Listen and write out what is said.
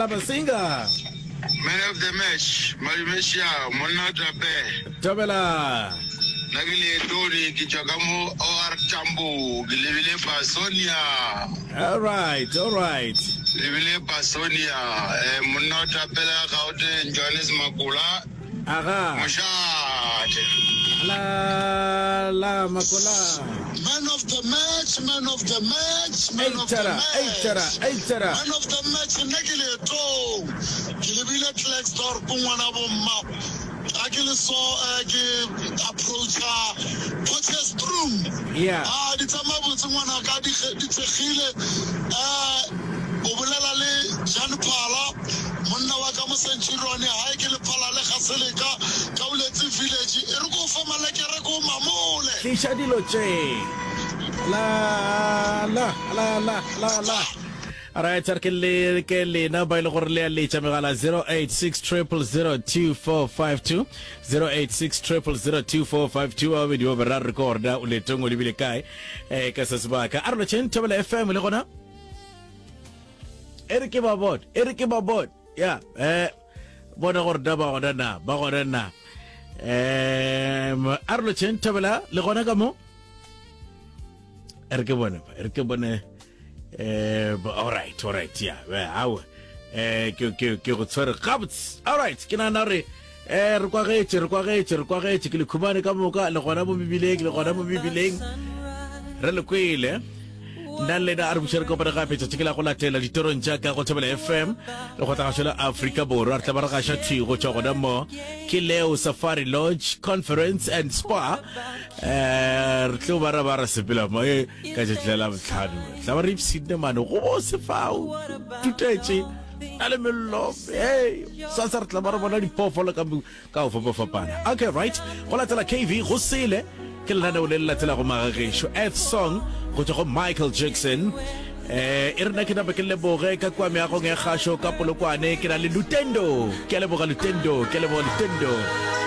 La Masinga. Man of the match, Malume Sha, monna o tape. Thobela. Nna ke Leetone, ke tšwa ka mo OR Tambo, ke lebile Basonia. All right, all right. Lebile Basonia, eh, monna o tapela Gauteng, Johannes Makola. Aga. Mošate. La la Makola. Man of the match, man of the match, man of the Eitara, match. eitara, eitara. Man of the match, nna ke leetong. Ke lebile Klerksdorp ngwana bomma. Ga ke le so eh, ke approacha Potchefstroom. Yeah. Ah, di tsamaya botse ngwana ka di di thekgile. Eh, o bolela le Jan Phala, monna wa ka mo Centurion, hae ke Lephala le Gaseleka, Kauletse Village. E re ko o fe malekere ko o mamole. Tliša dilo tše. La la la la la la. Alright, a re ke le ke lena ba ile gore le a letša megala 086 0002452 086 0002452 ba babedi ba bararo re ko gore o letong o lebile kae eh ka se sebaka a re lotšheng Thobela FM le gona e re ke ba bone e re ke ba bone ya eh bona gore da ba gona na ba gona na um a re lotšheng Thobela le gona ka mo e re ke bone e re ke bone eh all right all right ya yeah, awe eh ke ke ke go tshwere gabotse all right ke nagana gore eh re kwagetše re kwagetše re kwagetše ke le khumane ka moka le gona mo mebileng le gona mo mebileng re le kwele nna le lena a re buše re kopane gape tšatši ke la go latela ditorong tša ka go Thobela FM le go tla la Afrika Borwa re tla ba re gaša thwi go tšwa gona mo ke Leo Safari Lodge Conference and Spa eh re tlo ba ra ba ra sepela mo e ka tšatši la botlhano tla ba re ipshinne mane go bose fao tutetše na le mello hey sasa re tla ba re bona diphoofolo ka ka go fapafapana okay right go latela kv go sele ke lenaneo le le latelago magagešo earth song go tšwa go michael jackson eh e rena ke napa ke leboge ka kua meagong ya kgašo ka polokwane ke na le lutendo ke a leboga lutendo ke a leboga lutendo.